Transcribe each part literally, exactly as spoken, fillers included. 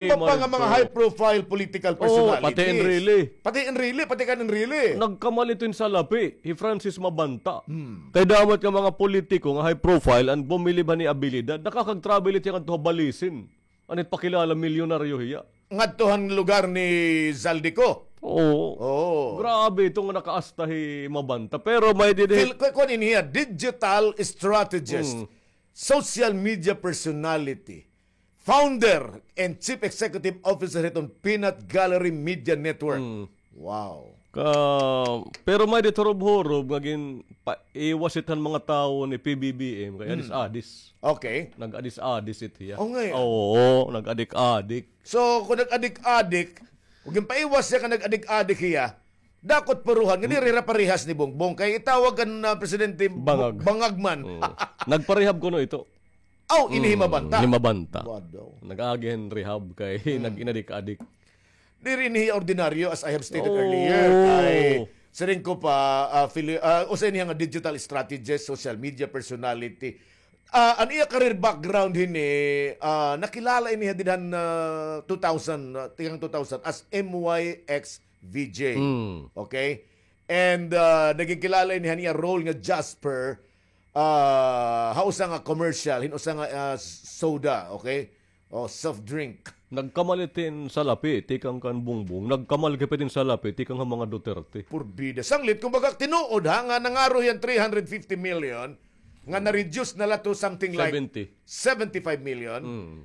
Iba pa nga mga high-profile political personalities. Oo, pati Enrile. Pati Enrile, pati kan Enrile. Nagkamalit hin salapi hi Francis Mabanta. Hmm. Kay damo it nga mga politiko nga high-profile an bumilib han iya abilidad. Nakakag-travel it hiya ngadto ha Balisin. An it pakilala, milyonaryo hiya. Ngadto han lugar ni Zaldy Co. Oo. Oo. Grabe ito nga nakaasta hi Mabanta. Pero may didi. Fil-, ku-, kuan ini hiya, digital strategist, social media personality, founder and chief executive officer hiton Peanut Gallery Media Network. Mm. Wow. Ka, pero may didi hurob-hurob nga gin-, pa-, iwas it han mga tawo ni P B B M, kay adis-adis. Okay. Nag-adis-adis it hiya. Oh, ngay-an. Oo, nag-adik-adik. So, kung nag-adik-adik, kung ginpaiwas hiya ka nag-adik-adik hiya, dakot puruhan, nga diri hira parehas ni Bongbong. Kay itawag kan, ah, Presidente Bangag. Bangag man. Oo. Nagparehab kuno ito. Aw, ini hi Mabanta. Hi Mabanta. Bado. Nag-agi hin rehab kay nag-inadik-adik. Diri ini hiya ordinaryo, as I have stated earlier. Kay siring ko pa, ah, fili-, ah, usa ini nga digital strategist, social media personality. Ah, an iya career background hini, ah, nakilala ini didhan, ah, two thousand, ah, tikang two thousand as M Y X V J. Mm. Okay? And, ah, naging kilala ini han iya role nga Jasper, ah, ha usa nga commercial, hin usa nga, ah, soda, okay? O, soft drink. Nagkamalit hin salapi, tikang kan Bongbong. Nagkamalit gihap hin salapi, tikang ha mga Duterte. Purbida. Sanglit, kumbaga, tinuod ha, nga nangaro hiya hin three hundred fifty million, nga na-reduce na la to something like seventy. Seventy-five million. Mm.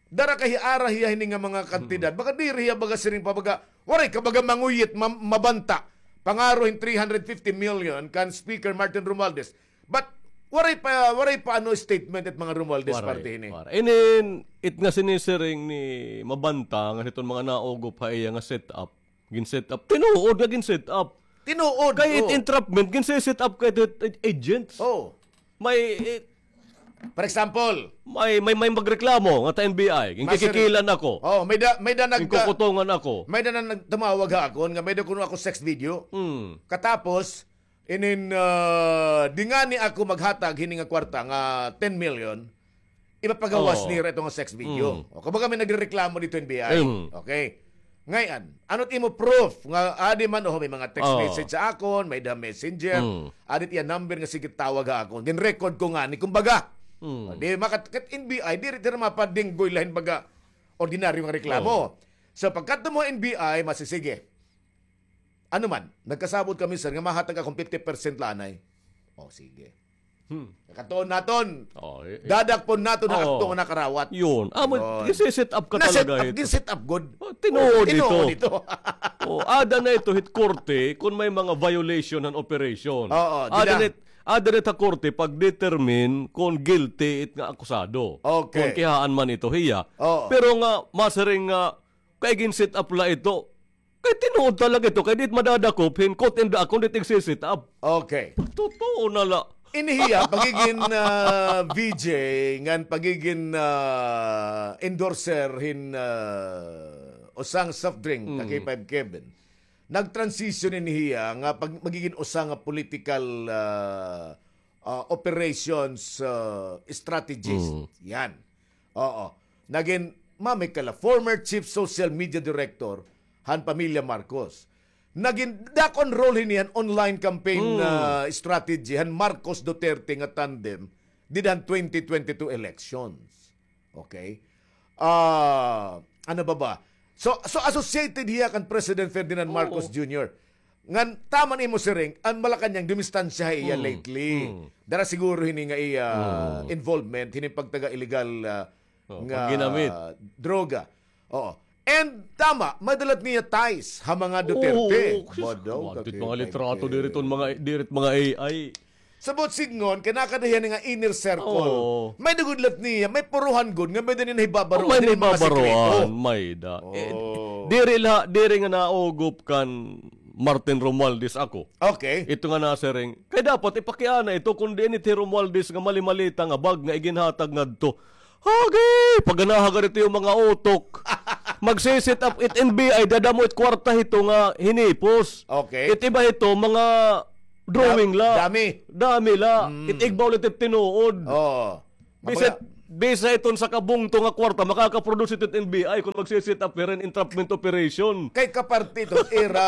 Dara kay ara hiya hini nga mga kantidad. Baga diri hiya baga siring pa baga, waray ka baga manguyit, ma-, Mabanta. Pangaro hin three hundred fifty million kan Speaker Martin Romualdez. But waray pa, waray pa ano statement it mga Romualdez party hini. Waray. Inin, it nga sinisiring ni Mabanta nga hiton mga naugop ha iya nga setup. Gin-set up. Tinuod nga gin-set up. Tinuod. Kay it entrapment, gin-set up kay it, it agents. Oh. May, it, for example, may, may, may magreklamo nga ta N B I. Ginkikikilan ako. Oh, may da, may da nag-, ginkukutungan ako. May da na nagtumawag ha akon nga may da kuno ako sex video. Hmm. Katapos, inin, ah, di ngani ako maghatag hini nga kwarta nga ten million, ipapagawas nira ito nga sex video. Mm. O, kumbaga may nagrereklamo dito N B I. Mm. Okay. Ngay-an, ano it imo proof nga adi man, o, may mga text message sa akon, may da messenger, adi it iya number nga sige tawag ha akon. Gin-record ko ngani, kumbaga. Mm. O, di makat-, kat N B I, diri hira mapadinggoy la hin baga ordinaryo nga reklamo. Oh. So, pagkadto mo N B I, masisige. Ano man, nagkasabot kami, sir, nga mahatag akon fifty percent la anay. O, sige. Hmm. Katuon naton. Oh, eh, eh. Dadakpon naton ha akto nga nakarawat. Yun. Ah, ginse-set up ka talaga ito. Ginset up gud. Oh, tinuod ito. Oh, ada na ito hit korte kung may mga violation han operation. Oo, ada na it-, ada na it ha korte pag-determine kung guilty it nga akusado. Okay. Kung kihaan man ito hiya. Oo. Pero nga, masiring nga, kay gin-set up la ito. Kay tinuod talaga ito, kay di it madadakop hin court in the act kon di it igse-set up. Okay. Totoo na la. Ini hiya, pagigin, ah, V J, ngan pagigin, ah, endorser hin, ah, usa nga soft drink, ka K five Kevin. Nag-transition ini hiya nga pag-, magigin usa nga political, ah, ah, operations, ah, strategist. Mm. Yan. Oo. Nagin, mami kala, former chief social media director han pamilya Marcos. Nagin, dakon role hini han online campaign, ah, strategy han Marcos Duterte nga tandem dida han twenty twenty-two elections. Okay? Ah, ano ba ba? So, so associated hiya kan President Ferdinand Marcos Junior. Ngan, tama an imo siring, an Malacañang dumistansya ha iya lately. Dara siguro hini nga iya involvement, hini pagtaga illegal, ah, nga pagginamit droga. Oo. And, tama, may da la it niya ties ha mga Duterte. Oo, sus, mga litrato, diri it mga, diri it mga A I. Sa buot sidngon, kay nakada hiya nga inner circle. Oo. May da gud la it niya, may puruhan gud, nga may da niya nahibabaroan. Oh, may nahibabaroan, may da. Eh, diri la, diri nga naugop kan Martin Romualdez ako. Okay. Ito nga nasiring. Kay dapat ipakiana ito, kun diin it hi Romualdez nga mali-malita nga bag nga iginhatag ngadto. Hagi! Paganaha ganito yung mga utok. Magse-set up it N B I, dadamo it kwarta hito nga hinipos. Okay. It iba hito, mga drawing la. Dami. Dami la. Mm. It igbaw la it tinuod. Oo. Bisan, Bisa iton sa kabungto nga kwarta, makakaproduce ito N B I kung magsi-set up hira hin entrapment operation. Kay kaparte ito, ira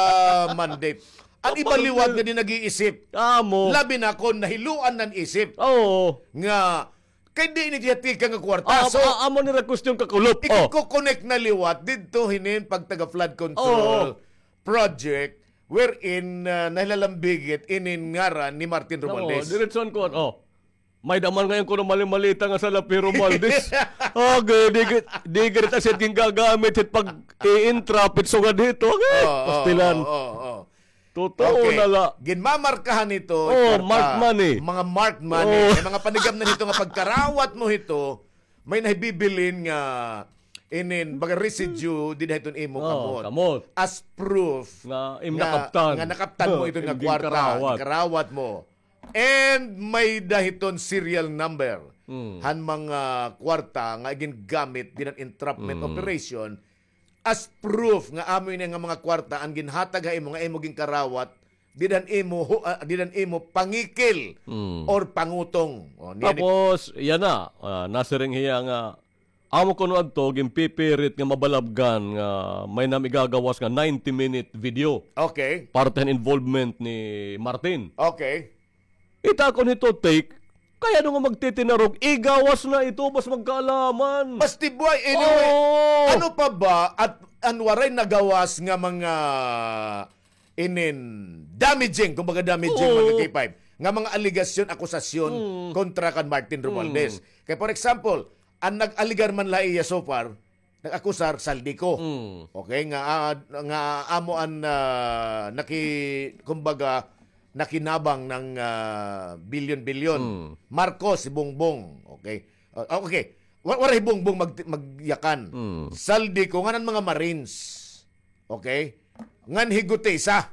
mandate. An iba liwat nga di nag-iisip. Amo. Labi na kon nahiluan nan isip. Oo. Nga, kay di ini tiyatika nga kwarta. Ah, so, ah, amo nira question kakulop. Oh. Ikiko-connect na liwat didto hinin pagtaga flood control project wherein, ah, nahilalambigit inin ngaran ni Martin Romualdez. Diretson ko, oh. May daman ngayon kuno mali-malita nga sala P. Romualdez. Okay, di, di, di kita siya gingagamit hit pag-i-entrap hit sugad hito. Okay, pastilan. Oo, oo, oo. Totoo na la. Ginmamarkahan hito, oh, marked money. Mga marked money. Oh. May mga panigamnan hito nga pagkarawat mo hito, may nahibibilin nga inin, baga residue, dida hiton imo kamot. As proof nga, nga nakaptan mo iton nga kwarta, karawat mo. And may-ada hiton serial number han mga kwarta nga gingamit dida han entrapment operation as proof nga amo ini nga mga kwarta an ginhatag ha imo nga imo ginkarawat dida han imo, ah, dida han imo pangikil or pangutong. O, niyan. Tapos yana, ah, nasiring hiya nga amo kuno adto ginpipirit nga mabalabgan nga may-ada igagawas nga ninety minute video. Okay. Parte han involvement ni Martin. Okay. It akon hito take, kay ano nga magtitinarog, igawas na ito, bas magkaalaman. Basti buhay, anyway. Oo. Ano pa ba at an waray nagawas nga mga inin damaging, kumbaga damaging, mga K five, nga mga alegasyon, akusasyon kontra kan Martin Romualdez. Kay, for example, an nag-alegar man la iya so far, nag-akusar, Zaldy Co. Okay, nga, ah, nga amo an, ah, naki-, kumbaga, nakinabang ng, ah, bilyon-bilyon. Marcos, si Bongbong. Okay. Ah, okay. Wa-, waray Bongbong mag-, magyakan. Zaldy Co, ngan an mga Marines. Okay? Ngan higutisa.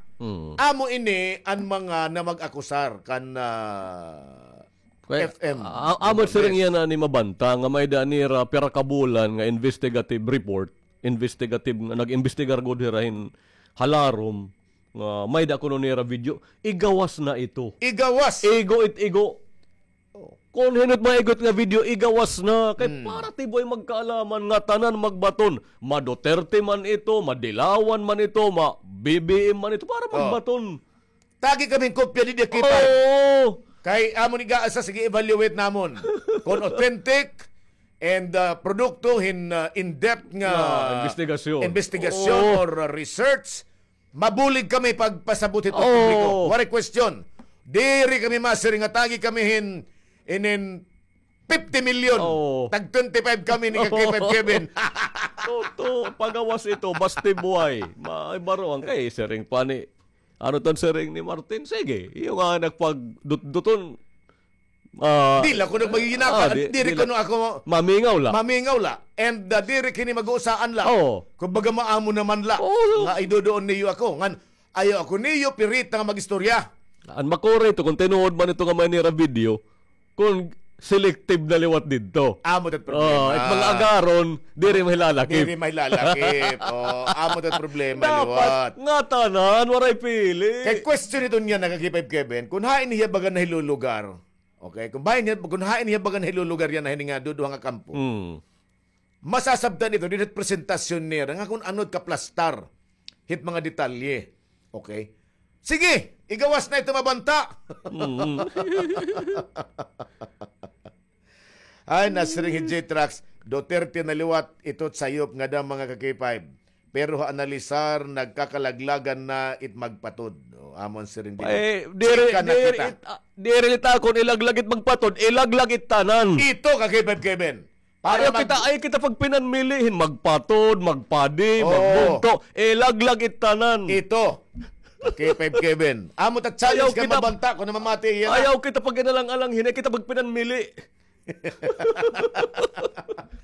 Amo ini an mga namag-akusar kan, ah, F M. Amo siring yana ni mabanta nga may-ada nira pira ka bulan nga investigative report, investigative nga nag-imbestigar gud hira hin halarom nga may-ada kuno nira video. Igawas na ito. Igawas. Igo it igo. Oh. Kon hin-o it maigo it nga video, igawas na. Kay para tibuhay magkaalaman nga tanan magbaton. Ma-Duterte man ito, ma-Dilawan man ito, ma-B B M man ito, para magbaton. Tagi kami hin kopya didi, K five. Oo. Kay amo ni gaasa, sige, evaluate namon kon authentic and, ah, produkto hin, ah, in-depth nga investigasyon or, ah, research. Mabulig kami pagpasabot hito publiko. Waray question. Diri kami masiring nga tagi kami hin, inin fifty million. Tag twenty-five kami ni ka K five Kevin. Toto, pagawas ito, basti buhay. May baroan kay siring pa ni, ano ton siring ni Martin? Sige, iyo nga nagpagdutduton. Ah, di la kuno magiginakan, ah, di, diri kuno ako mamingaw la. Mamingaw la. And, ah, diri kini mag-uusaan la. Oo. Kumbaga, maamo naman la. Oo. Nga iduduon niyo ako. Ngan, ayaw ako niyo pirita nga mag-istorya. An makuri ito, kon tinuod man ito nga may-ada nira video, kon selective na liwat didto. Amo ito't problema. Oh, it mga agaron, diri mahilalakip. Diri mahilalakip. Oh, amo ito't problema liwat. Dapat ngatanan, waray pili. Kay question ito niya, naka K five Kevin, kon hain hiya baga nahilulugar. Okay, kon hain hiya, kon hain hiya baga nahilulugar yana hini nga duduha nga kampo. Masasabtan ito dinhi ha presentasyon nira nga kon ano it kaplastar hit mga detalye. Okay? Sige, igawas na ito, mabanta. Ay, nasiring hi J-Trax, Duterte na liwat ito sayop ngada mga ka K five. Pero ha analisar, nagkakalaglagan na it magpatod. O, amo an siring diri. Eh, diri, diri it, ah, diri it akon ilaglag it magpatod, ilaglag it tanan. Ito ka K five Kevin. Ayaw kita, ayaw kita pagpinanmili hin magpatod, magpadi, magbungto. Ilaglag it tanan. Ito. K five Kevin. Amo ta challenge ka mabanta kon namamati hiya na. Ayaw kita pag-inalang-alang hin, ayaw kita pagpinanmili.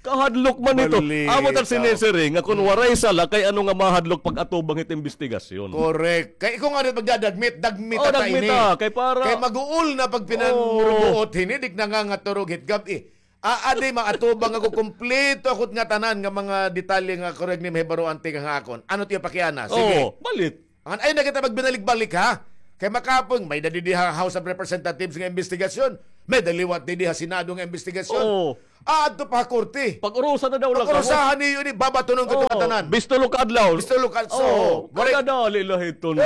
Kahadlok man ito. Amo ta sinisiring nga kon waray sala, kay ano nga mahadlok pag-atubang hit imbestigasyon. Correct. Kay ikaw nga pagdadagmit, dagmita ta ini. Kay para, kay mag-uol na pagpinanrubuot hini, dik nangangaturog hit gab-i. Aadi, maatubang ako, kumpleto ako it ngatanan nga mga detalye nga kureg ni mahibaroan tikang ha akon. Ano it iyo pakiana? Sige. Oo, balit. Ngan ayaw na kita magbinalik-balik, ha? Kay makapon, may-ada didi ha House of Representatives nga imbestigasyon. May daliwat didi ha Senado nga investigasyon. Oo. Ah, adto pa ha korte. Pag-urusan na daw lang kamo. Pag-urusahan niyo ini, babatunon ko ito nga tanan. Bisto lo ka adlaw. Bisto lo ka adlaw. Oo, waray kadali la hiton.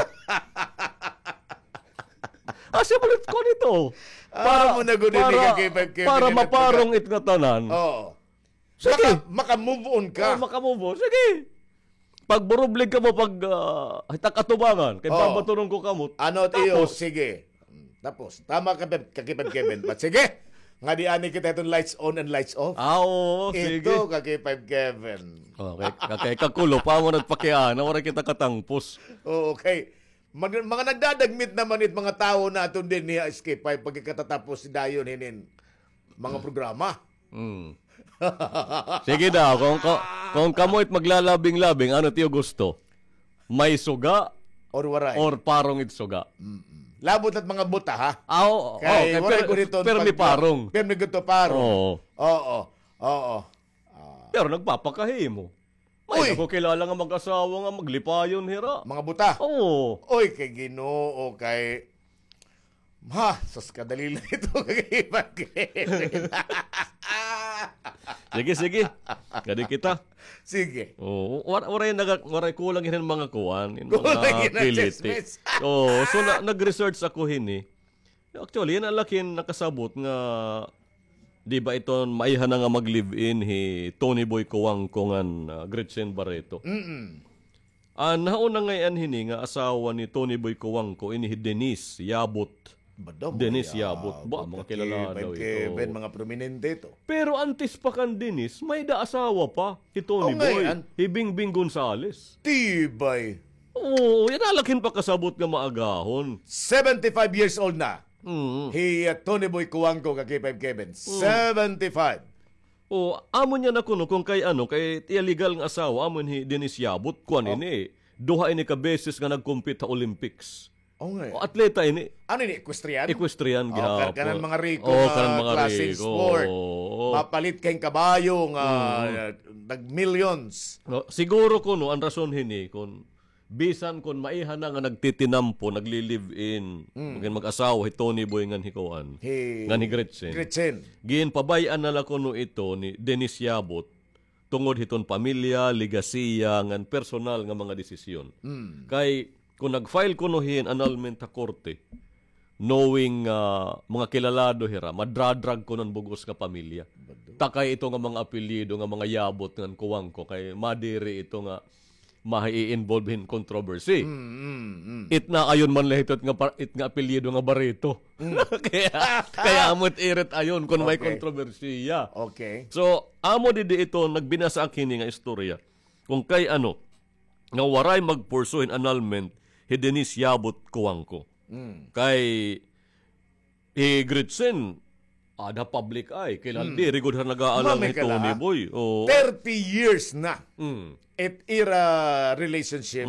Asa mo nito? Para, para mo na gud ini, para, ka K five Kevin, para maparong it nga tanan. Oo. Sige. Maka-, maka-move on ka. Oo, maka-move on. Sige. Pagburublig kamo, pag, ah, hitak atubangan, kay babatunon ko kamo. Ano, tiyo? Tapos? Sige. Tapos, tama ka, Pep-, ka K five Kevin. But sige, nga di ani kita iton lights on and lights off. Ah, oo, sige. Ito, ka K five Kevin. Okay, kakay kakulo pa mo nagpakiana, waray kita katangpos. Oo, okay. Mag-, mga nagdadagmit naman it mga tawo naton dinhi ha S K five pagkakatatapos dayon hinin mga programa. Mm. Sige daw, kung, kung, kung kamo it maglalabing-labing, ano tiyo gusto? May suga or waray? Or parong it suga? Mm-mm. Labot at mga buta, ha? Ah, oo, oo. Kay waray gud iton permi parong. Permi gud to parong. Oo. Oo. Oo. Ah. Pero nagpapakahimo. May ako kilala nga mag-asawa nga maglipayon hira. Mga buta. Oo. Oy, kay Ginoo, kay, ha, sus, kadali la ito, kay Ipag. Sige, sige. Kadi kita. Sige. Oo, war-, waray naga-, waray kulang hin mga kuan, hin mga kiliti. Oo, so na-, nag-research ako hini. Actually, yana la ak hin nakasabot nga, di ba, iton maiha na nga mag-live-in hi Tony Boy Cojuangco ngan, ah, Gretchen Barreto. Mm-mm. An nahauna ngay-an hini nga asawa ni Tony Boy Cojuangco, ini hi Denise Yabut. Denise Yabut. Ba, mga kilala daw ito. Kevin, mga prominente ito. Pero antes pa kan Denise, may-da asawa pa hi Tony Boy, hi Bingbing Gonzales. Tibay. Oo, yana la ak hin pakasabot nga maagahon. Seventy-five years old na. Mm. Hi, uh, Tony Boy Cojuangco, ka K five Kevin. Mm. Seventy-five. O, amo niya na kuno kung kay ano, kay iya legal nga asawa, amo hi Denise Yabut, kuan ini. Duha ini ka beses nga nag-compete ha Olympics. O, atleta ini. Ano ini, equestrian? Equestrian gihapon. Kanan mga riko nga klase sport. Mapalit kay kabayo nga, uh, nag-millions. No, siguro kuno an rason hini kun bisan kon maiha na nga nagtitinampo, nagli-live-in, magin mag-asawa hi Tony Boy ngan hi kuan, ngan hi Gretchen. Ginpabay-an na la kuno ito ni Denise Yabut tungod hiton pamilya, legasiya, ngan personal nga mga desisyon. Kay kon nag-file kuno hin annulment ha korte, knowing, ah, mga kilalado hira, madradrag kuno an bug-os nga pamilya. Takay ito nga mga apelyido nga mga Yabut ngan Cojuangco, kay madiri ito nga mai-involve hin controversy. It na ayon man la hito it nga pa-, it nga apelyido nga Barreto. Kaya, kaya amo it irit ayon kon may kontrobersiya. Okay. So, amo didi ito, nagbinasa ak hini nga istorya. Kung kay ano, nga waray mag-pursue hin annulment hi Denise Yabut Cojuangco. Kay hi Gretchen, ada public eye. Kilala, diri gud ha nag-aalang hi Tony Boy. Oo. Thirty years na it ira relationship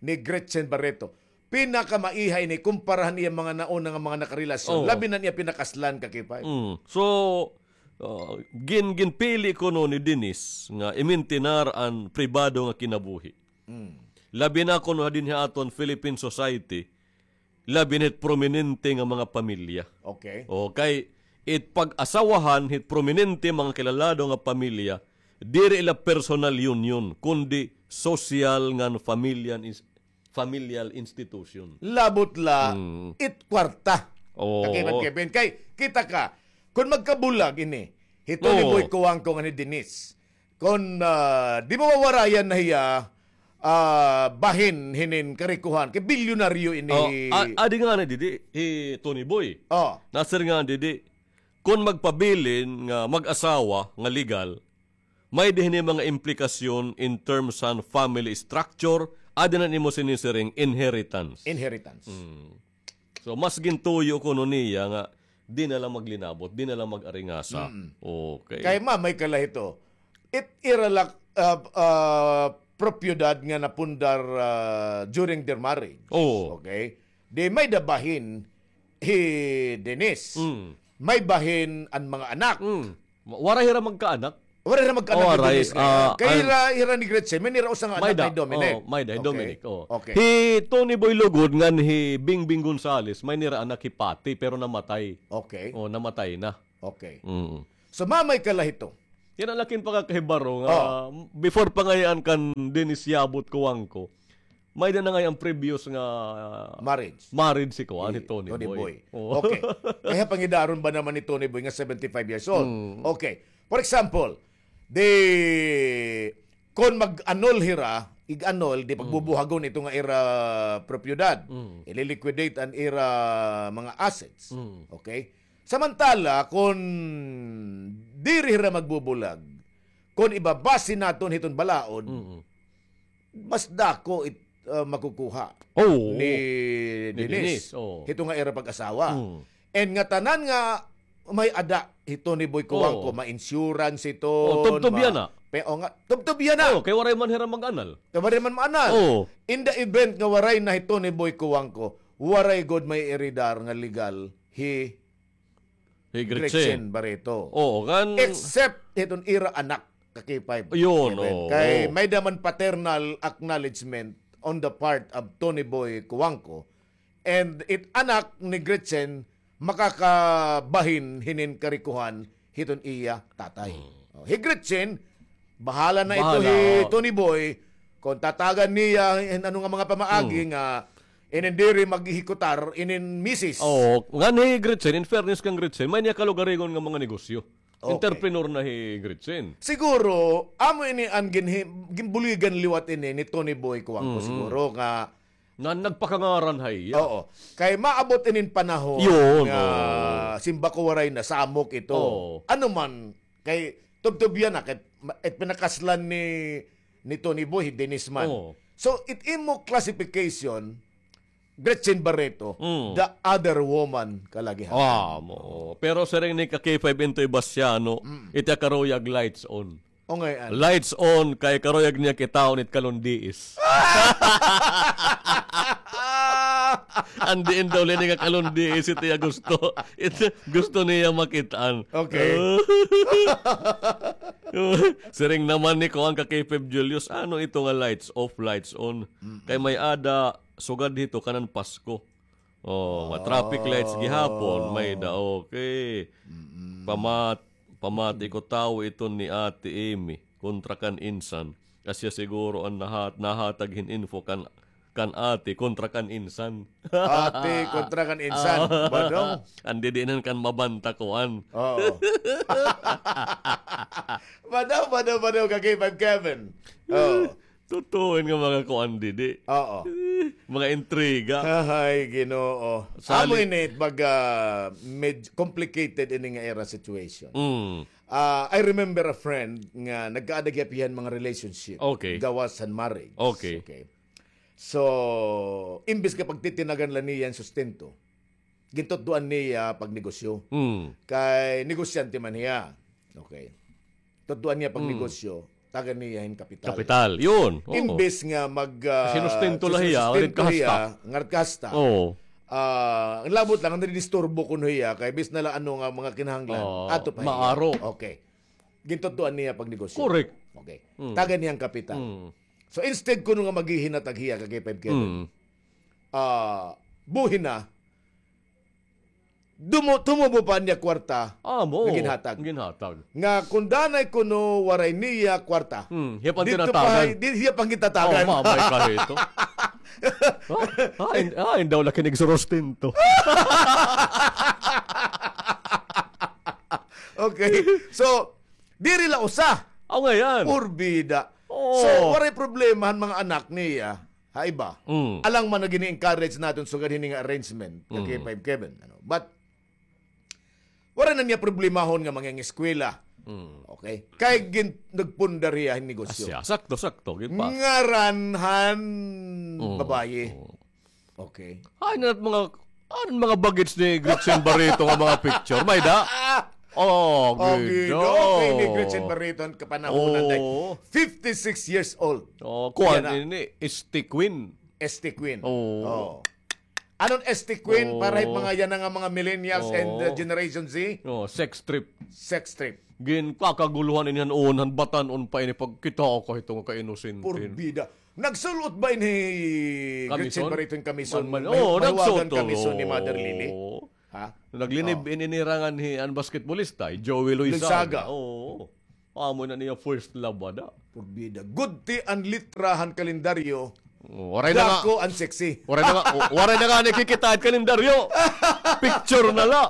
ni Gretchen Barreto. Pinakamaiha ini kumpara han iya mga nauna nga mga nakarelasyon. Labi na niya pinakaslan, ka K five. So, ah, gin-, ginpili kuno ni Denise nga imintinar an pribado nga kinabuhi. Labi na kuno dinhi ha aton Philippine society, labi na hit prominente nga mga pamilya. Okay. O, kay it pag-asawahan hit prominente mga kilalado nga pamilya, diri la personal union, kundi social ngan familial ins-, familial institution. Labot la it kwarta. Oo. Ka Kevin, Kevin. Kay, kita ka, kon magkabulag ini, hi Tony Boy Cojuangco ngan hi Denise, kon, ah, di mawawarayan na hiya, ah, bahin hinin karikohan, kay bilyonaryo ini. Oh, a-, adi ngani didi, hi Tony Boy. Oh. Nasir ngani didi, kon magpabilin nga mag-asawa nga legal, may-da hini mga implikasyon in terms han family structure, adi na nimo sinisiring inheritance. Inheritance. So, mas gintuyo kuno niya nga di na la maglinabot, di na la mag-aringasa. Okay. Kay ma, may kala hito. It ira la, ah, ah, propiedad nga napundar, ah, during their marriage. Oo. Okay? Di may-da bahin hi Denise. May bahin an mga anak. Wa-, waray hira magkaanak. Waray na magkaanak ni Dennis nga ira. Kay ira, ira ni Gretchen, may nira usa nga anak ni Dominic. Oh, may da, hi Dominic, oh. Okay. Hi Tony Boy Lugod ngan hi Bingbing Gonzales, may nira anak hi Patty, pero namatay. Okay. Oh, namatay na. Okay. Mm. So, mamay ka la hito. Yana la it pakakahibaro nga, before pa ngay-an kan Dennis Yabut Cuangco, may-ada na ngay-an previous nga marriage. Marriage si kuan, hi Tony Boy. Oo. Okay. Kay ha pangidaron ba naman ni Tony Boy nga seventy-five years old? Mm. Okay. For example, di, kon mag-annul hira, ig-annul, di pagbubuhagon ito nga ira propiedad. Mm. Ililiquidate an ira mga assets. Mm. Okay? Samantala, kon diri hira magbubulag, kon ibabase naton hiton balaod, mm, mas dako it, ah, makukuha ni Denise, oo, hito nga ira pag-asawa. Mm. And ngatanan nga may-ada hito ni Boy Cuangco, oo, may insurance hito, oo, tubtob yana. Pe-, o nga, tubtob yana. Oo, kay waray man hira mag-annul. Kay waray man mag-annul. Oo. In the event nga waray na hito ni Boy Cuangco, waray gud may-eredar nga legal hi Gretchen Barreto. Oo, ngan except hiton ira anak, ka K five. Yun, oo. Kay may-ada man paternal acknowledgement on the part of Tony Boy Cuangco. And it anak ni Gretchen makakabahin hinin karikohan hiton iya tatay. Hmm. Oh, hi Gretchen, bahala na ito hi Tony Boy kon tatagan niya hin ano nga mga pamaagi nga inin diri maghihikutar inin misis. Oo, ngan hi Gretchen, in fairness kan Gretchen, may niya kalugaringon nga mga negosyo. Okay. Entrepreneur na hi Gretchen. Siguro, amo ini an ginhi-, ginbuligan liwat ini ni Tony Boy Cuangco siguro nga nagpakangaran ha iya. Oo. Kay maabot inin panahon nga simba ko waray na, samok ito. Oo. Ano man, kay tubtob yana, kay ma-, it pinakaslan ni, ni Tony Boy, hi Denise man. Oo. So, it imo classification, Gretchen Barreto, the other woman ka la gihapon. Ah, mo. Pero siring ni ka K five Intoy Basiano, iti karuyag lights on. O ngay-an. Lights on, kay karuyag niya kitaon it kalundiis. An diin daw la ini nga kalundiis, ito iya gusto. Ito, gusto niya makit-an. Okay. Siring naman ni kuan ka K five Julius, ano ito nga lights off, lights on? Mm-mm. Kay may-ada, sugad hito kanan Pasko. Oh, ma-traffic lights gihapon, may-ada, okay. Mm-mm. Pamat-, pamati ko tawo iton ni Ate Amy, kontra kan insan. Asya siguro an nahat-, nahatag hin info kan, kan ate kontra kan insan. Ate kontra kan insan, badong. An didinan kan mabanta kuan. Oo. Badong, badong, badong, ka K five Kevin. Oo. Totoo nga mga kuan didi. Oo. Mga intriga. Ay, Ginoo. Amo ini, baga, med-, complicated ini nga ira situation. Mm. Ah, I remember a friend nga nagkaada gihap hiya hin mga relationship. Okay. Gawas han marriage. Okay. Okay. So, imbis nga pagtitinagan la niya hin sustento, gintutdoan niya pagnegosyo. Mm. Kay negosyante man hiya. Okay. Tutdoan niya pagnegosyo, tagan niya hin kapital. Kapital, yun. Oo. Imbes nga mag, ah, sinustento la hiya, sinustento hiya, ngarit kasta. Oo. Ah, ang labot lang, ang nadidisturbo kuno hiya, kay bis na la ano nga mga kinahanglan, ato pa hiya. Maaro. Okay. Gintutdoan niya pagnegosyo. Correct. Okay. Mm. Tagan niya an kapital. Mm. So, instead kuno nga maghihinatag hiya kay K five Kevin. Mm. Ah, buhi na, dumo-, tumubo pa niya kwarta nga ginhatag. Ginhatag. Nga kun danay kuno waray niya kwarta. Hmm, hiya pa an tinatagan. Di, hiya pa an gintatagan. Oh, mamay ka hito. Ah, ah, in-, ah, indaw la kinig surustinto. Okay. So, diri la usa. Aw, ngay-an. Porbida. Oo. So, waray problema han mga anak niya. Ha iba. Mm. Alang man nga gini-encourage naton sugad hini nga arrangement, ka K five Kevin, ano. But, wala na niya problemahon nga mangingeskwela. Mm. Okay? Kay gin-, nagpundar hiya hin negosyo. Asya, sakto, sakto, gid pa. Ngaran han babaye. Mm. Okay. Ay, na mga, ano mga bagets ni Gretchen Barreto nga mga picture? May da? Oh, Ginoo. Okay, ni Gretchen Barreto han kapanahonan na fifty-six years old. Oh, kuan ini, Este Queen. Este Queen. Oh. Anon Este Queen para hit mga yana nga mga millennials and, uh, Generation Z? Oh, sex trip. Sex trip. Ginkakaguluhan ini han uon, han batan-on pa ini pagkita ko hito nga kainosente. Porbida. Nagsul-ot ba ini Gretchen Barreto hin kamison? Oo, nagsul-ot. Kamison ni Mother Lily? Ha? Naglinib-in ini ira nganhi an basketbolista, hi Joey Luisaga. Luisaga. Oo. Amo na niya first love ada. Porbida. Gudti an litra han kalendaryo. Waray na nga. Dako an sexy. Waray na nga, waray na nga nakikita an kalendaryo. Picture na la.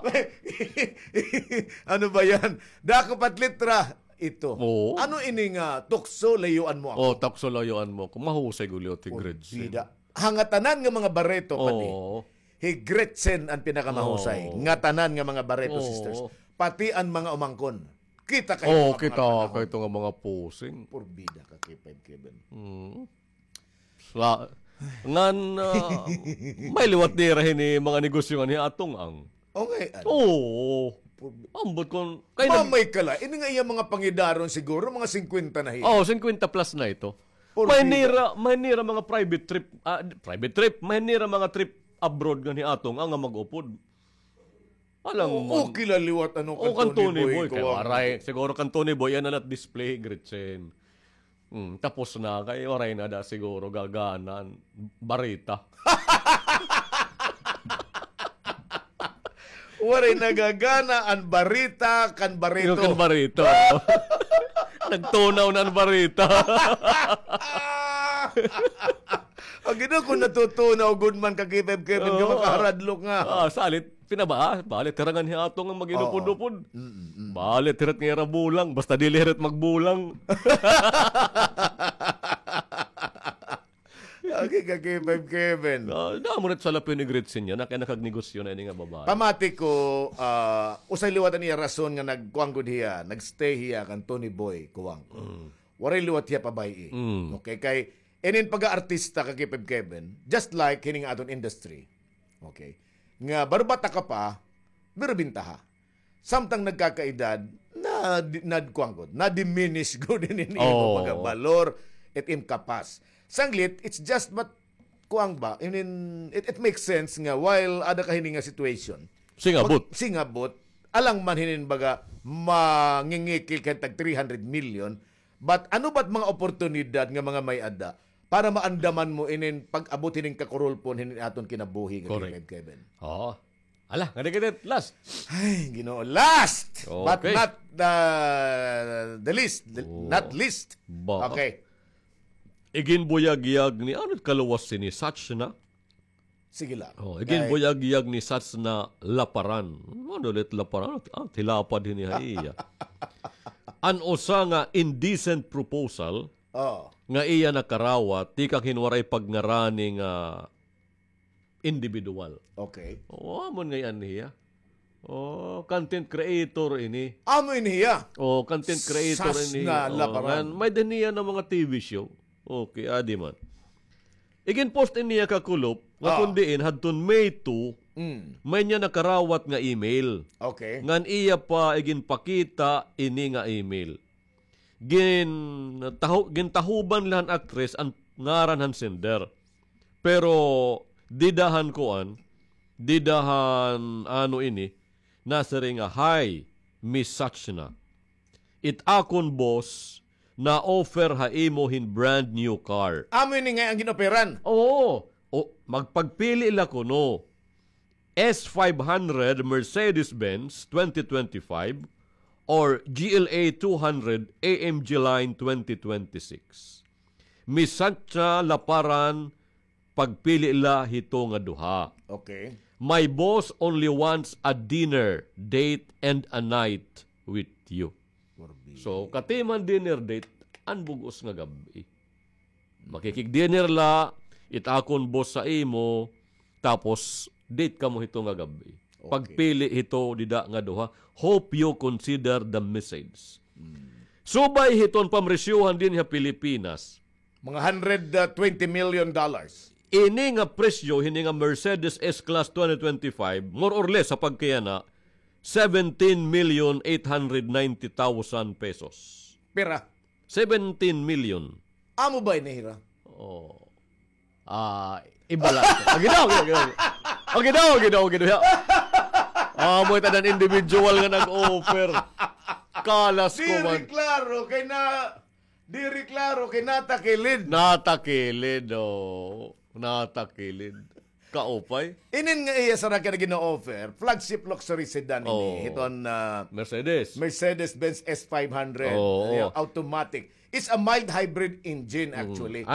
Ano ba yan? Dako pa it litra. Ito. Oo. Ano ini nga tukso, layuan mo ako? Oo, tukso, layuan mo ako. Mahusay gud liwat hi Gretchen. Porbida. Ha ngatanan nga mga Barreto pa ni. Oo. Hi Gretchen an pinakamahusay. Oo. Ngatanan nga mga Barreto sisters. Oo. Pati an mga umangkon. Kita kay ito nga mga posing. Porbida ka, K five Kevin. Mm. Sa, ngan, ah, may liwat nira hini mga negosyo nganhi aton ang. Okay, ano? Oo. Ambot kon, kay nag- Mamay ka la. Ini nga iya mga pangidaron siguro, mga singkwenta na hiya. Oo, singkwenta plus na ito. May nira, may nira mga private trip, ah, private trip, may nira mga trip abroad nganhi aton ang mag-upod. Alang man. Okay la liwat, ano, kan Tony Boy, kay waray. Siguro kan Tony Boy, yana la it display, Gretchen. Mm, tapos na, kay waray na da siguro gagana an barita. Waray na gagana an barita kan Barreto. Kan Barreto. Nagtunaw na an barita. Ang ginaw kung natutunaw gud man ka, K five Kevin, nga makaharadlok nga. Ah, salit. Pinabaa, balit hira nganhi aton nga mag-inupod-upod. Oo. Mm, mm. Balit hira it nga ira bulang, basta dili hira it magbulang. Okay ka, K five Kevin. Ah, damo na it salapyon ni Gretchen yana, kay nakagnegosyo na ini nga babaye. Pamati ko, ah, usa liwat an iya rason nga nagkuan gud hiya, nagstay hiya kan Tony Boy Cuangco. Mm. Waray liwat hiya pabay-i. Mm. Okay, kay inin pag-aartista ka, K five Kevin, just like hining aton industry. Okay. Nga barbata ka pa, pero bintaha. Samtang nagkakaedad, na, na, kuan gud, na-diminish gud inin imo pagkabalor, it im kapas. Sanglit, it's just but, kuan ba, inin, it, it makes sense nga while ada ka hini nga situation. Singabot. Singabot, alang man hinin baga, mangingikil ka tag three hundred million, but ano ba't mga oportunidad nga mga may-ada para maandaman mo inin pag-abot hinin kakurulpon hinin aton kinabuhi nga Kevin? Oo. Ala, nga di kita last. Ay, Ginoo, last but not the, the least, the, not least. Okay. Iginbuyagyag ni, ano it kaluwas hini, Sachna? Sige la. Oh, iginbuyagyag ni Sachna Laparan. Ano ulit Laparan? Ah, tilapad hini ha iya. An usa nga indecent proposal nga iya nakarawat tikang hin waray pagngarani nga individual. Okay. Oh, amo ngay-an hiya. Oh, content creator ini. Amo ini hiya. Oh, content creator ini. Sachna Laparan. May-ada niya nga mga T V show. Okay, adi man. Iginpost ini niya kakulop nga kon diin hadton May two, may niya nakarawat nga email. Okay. Ngan iya pa iginpakita ini nga email. Gintaho-, gintahuban la han aktres an ngaran han sender. Pero dida han kuan, dida han ano ini, nasiring nga, "Hi, Miss Sachna. It akon boss na-offer ha imo hin brand new car." Amo ini nga an gin-offeran? Oo. O, magpagpili la kuno. S five hundred Mercedes-Benz twenty twenty-five or G L A two hundred A M G Line twenty twenty-six. Miss Sachna Laparan, pagpili la hito nga duha. Okay. My boss only wants a dinner date and a night with you. So, katiman dinner date, an bug-os nga gab-i. Makikig-dinner la, it akon boss sa imo, tapos date kamo hito nga gab-i. Okay. Pagpili hito dida nga duha. Hope you consider the message. Mm. Subay hiton pamresyohan dinhi ha Pilipinas. Mga hundred twenty million dollars. Ini nga presyo, hini nga Mercedes S-Class twenty twenty-five, more or less, sa pagkayana, seventeen million eight hundred ninety thousand pesos. Pira? Seventeen million. Amo ba ini hira? Oh. Ah, iba la. Agi daw, agi daw, agi daw. Agi daw, agi daw, agi daw. Ah, amo it ada an individual nga nag-offer. Kalas ko man. Diri klaro kay na, diri klaro kay natakilid. Natakilid, oo. Natakilid. Kaupay. Inin nga iya sara kay gina-offer, flagship luxury sedan ini. Oo. Hiton, ah, Mercedes. Mercedes-Benz S five hundred. Oo. Iya, automatic. It's a mild hybrid engine, actually. An